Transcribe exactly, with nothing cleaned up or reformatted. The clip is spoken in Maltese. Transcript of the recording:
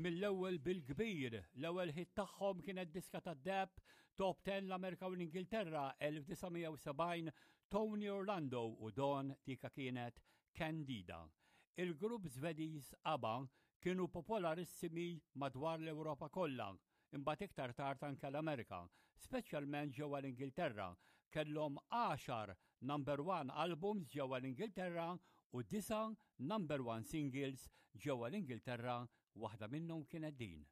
Mill-ewwel bil-kbir, l-ewwel hit tagħhom kienet diska tad-deheb Top ten l-Amerika u l-Ingilterra elf disa' mija u sebgħin, Tony Orlando u Dawn, dika kienet Candida. Il-grupp Svediż ABBA kienu popolarissimi madwar l-Ewropa kollha, imbagħad iktar tard anke l-Amerika, speċjalment ġewwa l-Ingilterra. Kellhom għaxar number one albums ġewwa l-Ingilterra u disa' number one singles ġewwa l-Ingilterra, waħda minnhom kienet din.